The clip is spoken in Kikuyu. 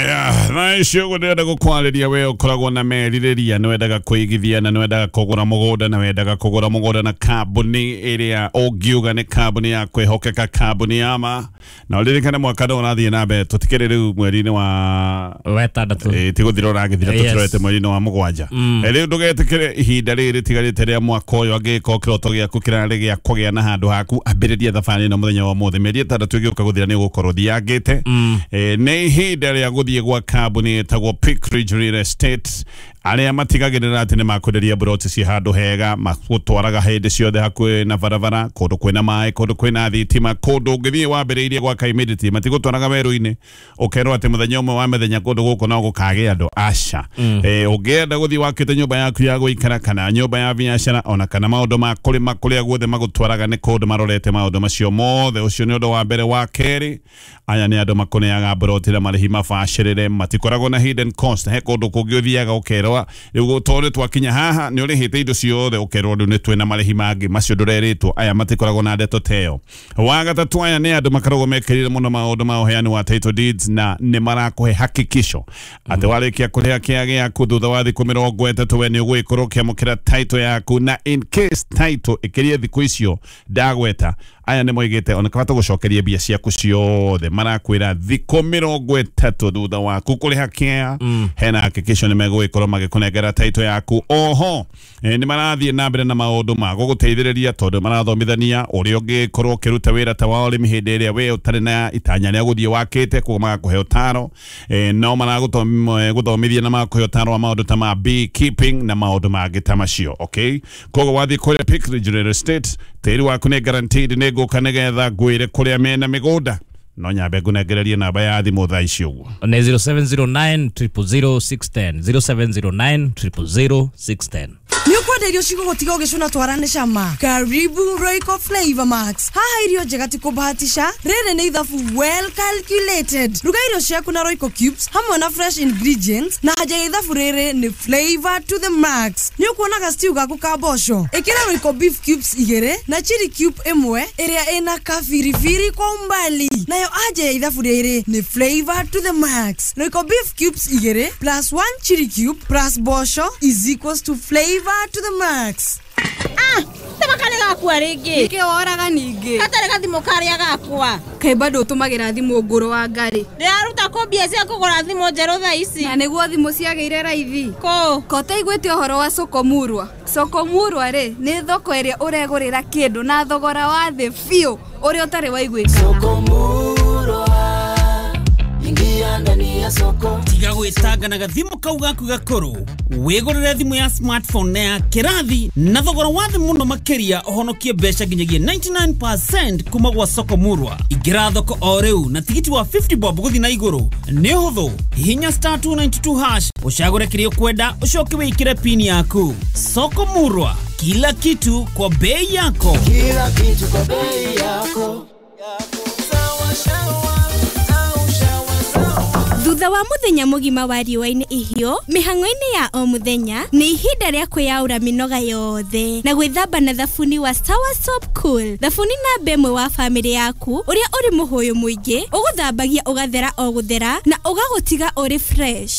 Aya, thaa ici ũguo ndĩrenda gũkwarĩria we ũkoragwo na merirĩria nĩ wendaga kũigithia na nĩ wendaga kũgũra mũgũnda na wendaga kũgũra mũgũnda na kambuni ĩrĩa ũngiuga nĩ kambuni ya kwĩhokeka, kambuni ya ma. Na ũririkane mwaka no ũrathiĩ na mbere, tũtikĩrĩ rĩu mweri-inĩ wa wetandatũ. Ĩ, ti gũthira ũragĩthira. Yes. Tũtũrete mweri-inĩ wa 7. Rĩu ndũgetĩkĩre ihinda rĩrĩ rĩtigarĩte rĩa mwaka ũyũ angĩgĩkorwo kĩroto gĩaku kĩrarĩ gĩa kũgĩa na handũ haku, ambĩrĩria thabarĩ ĩno mũthenya wa ũmũthĩ. Mĩeri 6 ĩgĩũka gũthira nĩ ũgũkorwo thiangĩte. Nĩ ihinda rĩa gũthiĩ gwa kambuni ĩtagwo Peak Ridge Real Estate, arĩa matigagĩrĩra atĩ nĩ makwenderia mburoti ci handũ hega, magũtwaraga hĩndĩ ciothe hakuhĩ na barabara, kũndũ kwĩna maĩ, kũndũ kwĩna thitima, kũndũ ũngĩthiĩ wambĩrĩirie gwaka immediately. Matigũtwaraga werũ-inĩ ũkerwo atĩ mũthenya ũmwe wa mĩthenya kũndũ gũkũ no gũkagĩa andũ aca. Ũngĩenda gũthiĩ wakĩte nyũmba yaku ya gũikara kana nyũmba ya biacara ona kana maũndũ ma kũrĩma, kũrĩa guothe magũtwaraga nĩ kũndũ marorete maũndũ macio mothe. Ũcio nĩ ũndũ wa mbere. Wa kerĩ, aya nĩ andũ makũneaga mburoti na marĩhi mabacĩrĩre, matikoragwo na hidden cost. He kũndũ kũngĩ ũthiaga ũkerwo rĩu tondũ twakinya haha nĩ ũrĩhĩte indo ciothe, ũkerwo rĩu nĩ twĩna marĩhi mangĩ macio ndũrerĩtwo. Aya matikoragwo na ndeto teyo. Wa gatatũ, aya nĩ andũ makoragwo mekĩrĩire mũno maũndũ ma ũheani wa title deeds, na nĩ marakũhe hakikisho atĩ warĩkia kũrĩha kĩa gĩaku, thutha wa thikũ 30 we nĩ ũgũgĩkorwo ũkĩamũkĩra title yaku. Na in case title ĩkĩrie thikũ icio ndagweta, aya nĩ moigĩte ona kaba tũgũcokerie mbia ciaku ciothe. Marakwĩra thikũ 30 thutha waku kũrĩha kĩa, hena hakikisho nĩ megũgĩkorwo magĩkũnengera title yaku. Oho nĩ marathiĩ na mbere na maũndũ ma gũgũteithĩrĩria, tondũ marathomithania ũrĩa ũngĩkorwo ũkĩruta wĩra ta wa ũrĩmi hĩndĩ ĩrĩa we ũtarĩ na itanya rĩa gũthiĩ wakĩte, koguo magakũhe ũtaro. No maragũthomithia na magakũhe ũtaro wa maũndũ ta ma beekeeping na maũndũ mangĩ ta macio. Okay, koguo wathiĩ kũrĩa Peak Ridge Real Estate, tĩri waku nĩ guaranteed. Nĩ ngũka nĩgetha ngwĩre kũrĩa mena mĩgũnda, no nyambe ngũnengererie namba ya thimũ thaa ici ũguo. Nĩ 0709 000 610, 0709 000 610. Nĩ ũkwenda irio cigũgũtiga ũgĩcũna twara nĩ cama? Karibu Royco Flavor Max. Haha irio njega ti kũbahatisha, rĩrĩ nĩ ithabu well calculated. Ruga irio ciaku na Royco cubes hamwe na fresh ingredients, na haja ya ithabu rĩrĩ nĩ flavor to the max. Nĩ ũkuonaga stew gaku ka mboco, ĩkĩra Royco beef cubes 2 na chili cube 1 ĩrĩa ĩna kabiribiri kwa umbali. Nayo anja ya ithabu rĩrĩ nĩ flavor to the max. Royco beef cubes 2 plus 1 chili cube plus mboco is equals to flavor to the max. Ah, tema karĩ gakua rĩngĩ. Nĩkĩ woraga ningĩ? Gatarĩ gathimũ karĩa gakwa. Kaĩ bado ũtũmagĩra thimũ ngũrũ wa ngarĩ? Ndĩraruta kũ mbia cia kũgũra thimũ njerũ thaa ici? Na nĩguo thimũ ciagĩire raithi. Kũ? Ko ũtaiguĩte ũhoro wa Sokomurwa? Sokomurwa rĩ, nĩ thoko ĩrĩa ũregũrĩra kĩndũ na thogora wa thĩ biũ ũrĩa ũtarĩ waiguĩkana. Tiga gwĩtanga na gathimũ kau gaku gakũrũ, wĩgũrĩre thimũ ya smartphone na ya kĩrathi na thogora wa thĩ mũno makĩria, ũhonokie mbeca nginyagia 99% kuma gwa Soko Murwa. Ingĩra thoko o rĩu na tigiti wa 50 bob gũthiĩ na igũrũ. Nĩ ũhũthũ, hihinya *292# ũcagũre kĩrĩa ũkwenda, ũcoke wĩkĩre pin yaku. Soko Murwa, kila kitu kwa bei yako. Kila kitu kwa bei yako. Thutha wa muthenya mũgima wa riũa-inĩ ihiũ mĩhang'o-inĩ ya o mũthenya, nĩ ihinda rĩa kwĩyaũra mĩnoga yothe na gwĩthamba na thabuni wa Sawa Soap Cool, thabuni namba 1 wa bamĩrĩ yaku, ũrĩa ũrĩ mũhũyũ mũingĩ, ũgũthambagia ũgathera o gũthera na ũgagũtiga ũrĩ fresh.